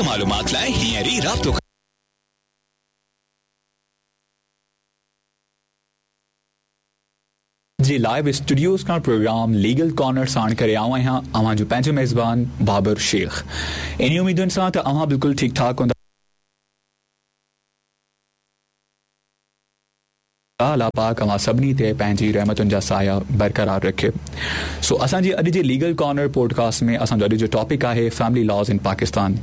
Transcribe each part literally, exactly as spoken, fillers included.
मालूमात लाइ हींअर ई राब्तो जी लाइव स्टूडियोज़ खां प्रोग्राम लीगल कॉर्नर साण करे आऊं आहियां अव्हां जो पंहिंजो मेज़बान बाबर शेख। इन उम्मीदुनि सां त अव्हां बिल्कुलु ठीकु ठाक हूंदा। अल्लाह पाक अव्हां सभिनी ते पंहिंजी रहमतुनि जा साया बरक़रार रखे। सो असांजी अॼु जे लीगल कॉर्नर पॉडकास्ट में असांजो अॼु जो टॉपिक आहे family laws in Pakistan.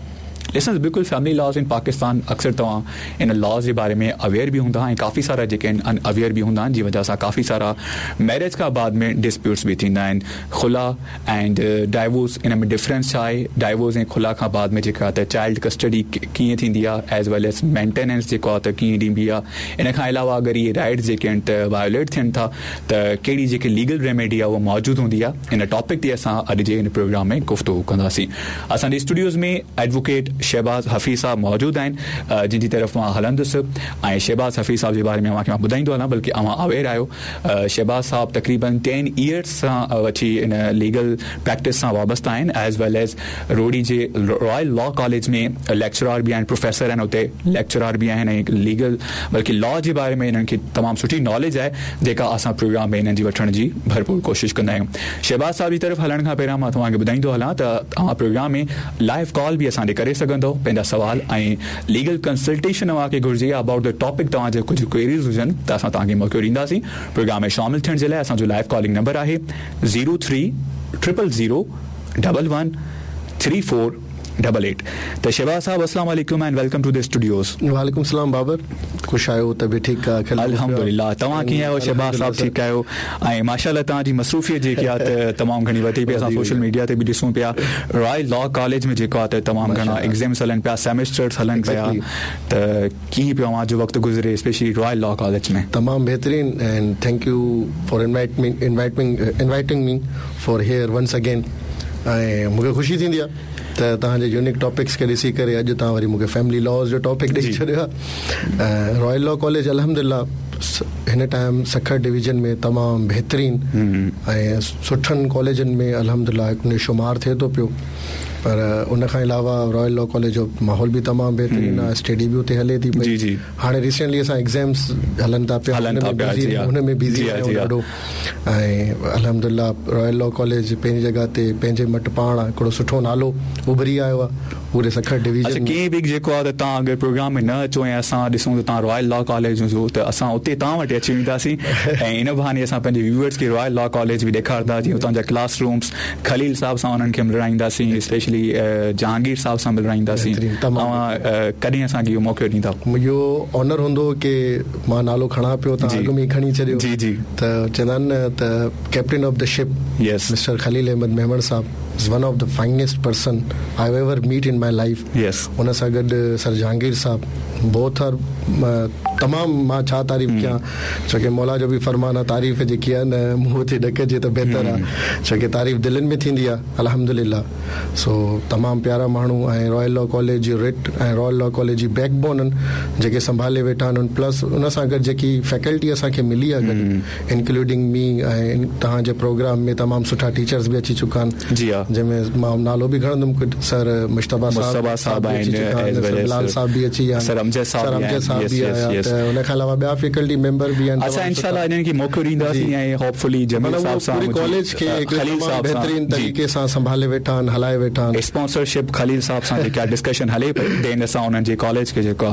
Listeners, बिल्कुलु फैमिली लॉज़ इन पाकिस्तान अक्सर तव्हां इन लॉज़ जे बारे में अवेयर बि हूंदा ऐं काफ़ी सारा जेके आहिनि अनअवेयर बि हूंदा आहिनि, जी वजह सां काफ़ी सारा मैरिज खां बाद में डिस्प्यूट्स बि थींदा आहिनि। खुला एंड डाइवोर्स इन में डिफरेंस छा आहे, डाइवोर्स ऐं खुला खां बाद में जेका त चाइल्ड कस्टडी कीअं थींदी आहे, एज वेल एज मेंटेनेंस जेको आहे त कीअं ॾिबी आहे। इन खां अलावा अगरि इहे राइट्स जेके आहिनि त वायोलेट थियनि था त कहिड़ी जेकी लीगल रेमेडी आहे उहा मौजूदु हूंदी आहे। इन टॉपिक ते असां अॼु जे हिन प्रोग्राम में गुफ़्तगू कंदासीं। असांजे स्टूडियोज़ में एडवोकेट शहबाज़ हफ़ीज़ साहब मौजूदु आहिनि, जिन जी तरफ़ मां हलंदुसि ऐं शहबाज़ हफ़ीज़ साहब जे बारे में अव्हांखे मां ॿुधाईंदो हलां, बल्कि अव्हां अवेयर आहियो। शहबाज़ साहब तक़रीबन टेन इयर्स सां वठी इन लीगल प्रैक्टिस सां वाबस्ता आहिनि, एज वेल एज रोड़ी जे रॉयल लॉ कॉलेज में लेक्चरार बि आहिनि, प्रोफेसर आहिनि उते लेक्चरार बि आहिनि ऐं लीगल बल्कि लॉ जे बारे में इन्हनि खे तमामु सुठी नॉलेज आहे, जेका असां प्रोग्राम में इन्हनि जी वठण जी भरपूर कोशिशि कंदा आहियूं। शहबाज़ साहब जी तरफ़ हलण खां पहिरियां मां तव्हांखे ॿुधाईंदो हलां त तव्हां प्रोग्राम में लाइव कॉल बि असां ॾे करे सघंदो, पंहिंजा सवाल ऐं लीगल कंसल्टेशन तव्हांखे घुरिजे अबाउट the topic, तव्हांजे कुझु क्वेरीज़ हुजनि त असां तव्हांखे मौक़ो ॾींदासीं। प्रोग्राम में शामिल थियण जे लाइ असांजो लाइव कॉलिंग नंबर आहे zero three triple zero double one three four double eight. त शहबाज़ साहब अस्सलाम वालेकुम and welcome to the studios. वालेकुम सलाम बाबर, ख़ुशि आहियो? तबियत ठीकु आहे? अल्हम्दुलिल्लाह। तव्हां कीअं आहियो शहबाज़ साहब? ठीकु आहियो? ऐं माशाअल्लाह तव्हांजी मसरूफ़ियत जेकी आहे त तमामु घणी वधी पई, असां सोशल मीडिया ते बि ॾिसूं पिया। रॉयल लॉ कॉलेज में जेको आहे त तमामु घणा एग्ज़ाम्स हलनि पिया, सेमेस्टर्स हलनि पिया, त कीअं पियो अव्हांजो वक़्तु गुज़रे स्पेशली रॉयल लॉ कॉलेज में? तमामु बहितरीन and thank you for invite me inviting inviting me for here once again. ऐं मूंखे ख़ुशी थींदी आहे त तव्हांजे यूनिक टॉपिक्स खे ॾिसी करे अॼु तव्हां वरी मूंखे फैमिली लॉज़ जो टॉपिक ॾेई छॾियो आहे। रॉयल लॉ कॉलेज अल्हम्दुलिल्लाह हिन टाइम सखर डिवीज़न में तमामु बहितरीन ऐं सुठनि कॉलेजनि में अल्हम्दुलिल्लाह हिकु शुमार थिए थो पियो। पर उन खां अलावा रॉयल लॉ कॉलेज जो माहौल बि तमामु बहितरीन आहे, स्टडी बि उते हले थी पई। हाणे रिसेंटली असां एग्ज़ाम्स हलनि था पिया, हुन में बिज़ी आहियूं ॾाढो। ऐं अल्हम्दुलिल्लाह रॉयल लॉ कॉलेज पंहिंजी जॻह ते पंहिंजे मटि पाण आहे, हिकिड़ो सुठो नालो उभरी आयो आहे पूरे सखर डिवीज़न। कंहिं बि जेको आहे त तव्हां अगरि प्रोग्राम में न अचो ऐं असां ॾिसूं त तव्हां रॉयल लॉ कॉलेज हुजो त असां उते तव्हां वटि अची वेंदासीं ऐं इन बहाने असां पंहिंजे व्यूअर्स खे रॉयल लॉ कॉलेज बि ॾेखारींदा, जीअं उतां जा क्लास रूम्स खलील साहब सां उन्हनि खे मिलराईंदासीं, स्पेशली जहांगीर साहब सां मिलराईंदासीं। तव्हां कॾहिं असांखे इहो मौक़ो ॾींदा? इहो ऑनर हूंदो की मां नालो खणां पियो, तव्हां अॻु में ई खणी छॾियो। जी जी। त चवंदा आहिनि न त captain of the ship yes mister Khalil Ahmed Memon sahab is one of the finest person I have ever meet in my life. Yes. उन सां गॾु सर जहांगीर साहब बोथ are तमामु मां छा तारीफ़ कयां, छो की मौला जो बि फरमान आहे तारीफ़ जेकी आहे न मुंहं ते न कजे त बहितर आहे, छो की तारीफ़ दिलनि में थींदी आहे अल्हम्दुलिल्लाह। सो तमामु प्यारा माण्हू ऐं रॉयल लॉ कॉलेज जी रिट ऐं रॉयल लॉ कॉलेज जी बैकबोन आहिनि जेके संभाले वेठा आहिनि, प्लस उन सां गॾु जेकी फैकल्टी असांखे मिली आहे गॾु इंक्लूडिंग मी ऐं तव्हांजे प्रोग्राम में तमामु सुठा टीचर्स बि अची चुका आहिनि। जी हा। जंहिंमें मां नालो बि खणंदुमि, कुझु सर मुश्तबा साहब साहब आहिनि, बिलाल साहब बि अची विया, सर अमजद सर अमजद साहब बि आया, त उन खां अलावा ॿिया फैकल्टी मेंबर बि आहिनि। असां इंशाअल्लाह इन्हनि खे मौक़ो ॾींदासीं ऐं होपफुली जमील साहब सां पूरी कॉलेज खे खलील साहब बहितरीन तरीक़े सां संभाले वेठा आहिनि, हलाए वेठा आहिनि। स्पॉन्सरशिप खलील साहब सां जेका डिस्कशन हले पई, then असां उन्हनि जे कॉलेज खे जेको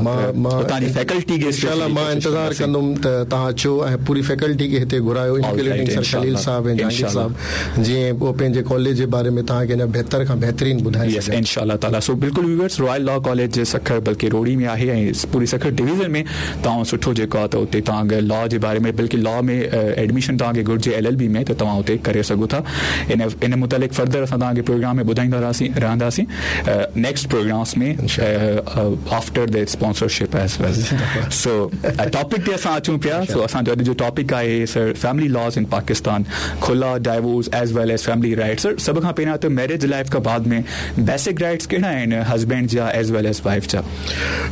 उतां जी फैकल्टी खे इंशाअल्लाह मां इंतज़ार कंदुमि त तव्हां अचो ऐं पूरी फैकल्टी खे हिते घुरायो, इंक्लूडिंग सर खलील साहब ऐं जहांगीर साहब, जीअं उहो पंहिंजे कॉलेज जे बारे में तव्हांखे अञा बहितर खां बहितरीन ॿुधाए सघनि इंशाअल्लाह ताला। सो बिल्कुलु व्यूअर्स, रॉयल लॉ कॉलेज जे सखर बल्कि रोड़ी में आहे ऐं पूरी सखर डिवीज़न में तव्हां सुठो जेको आहे त उते तव्हां अगरि लॉ जे बारे में बल्कि लॉ में एडमिशन तव्हांखे घुरिजे एल एल बी में त तव्हां उते करे सघो था। इन इन मुतालिक़ फर्दर असां तव्हांखे प्रोग्राम में ॿुधाईंदा रहसीं रहंदासीं next programmes में after the sponsorship as well. So topic ते असां अचूं पिया। सो असांजो अॼु जो टॉपिक आहे sir family laws in Pakistan, khula, divorce as well as family rights. Sir सभ खां पहिरियां ڪريان ته ميريج لائيف کان بعد ۾ بيسڪ رائٽس ڪهڙا آهن هسبينڊ جا ايز ويل ايز وائيف جا؟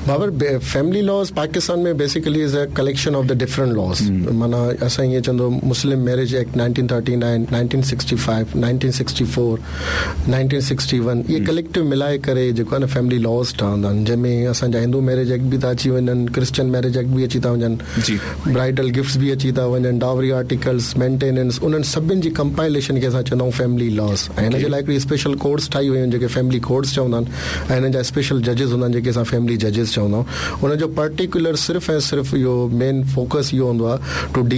Babar, family laws Pakistan ۾ basically is a collection of the different laws. معنيٰ اسان ائين چوندو Muslim marriage act nineteen thirty nine, nineteen sixty five, nineteen sixty four, nineteen sixty one, اهي collective ملائي ڪري جيڪو آهي نه فيملي لاز ٺهندا آهن، جنهن ۾ اسان جا هندو ميريج ايڪٽ به ٿا اچي وڃن، ڪرسچن ميريج ايڪٽ به اچي ٿا وڃن، برائيڊل گفٽس به اچي ٿا وڃن، ڊاوري آرٽيڪلس، مينٽيننس، انهن سڀني جي ڪمپائليشن کي اسان چوندا آهيون فيملي لاز. ۽ هن جي لاء هڪڙي اسپيشل ڪورٽس ٺاهي ويون آهن جيڪي فيملي ڪورٽس چوندا آهن، ۽ هنن جا اسپيشل ججز هوندا آهن جيڪي اسان فيملي ججز چوندا آهيون. ان جو پرٽيڪولر صرف ۽ صرف اهو مين فوڪس اهو هوندو آهي ٽو ڊيل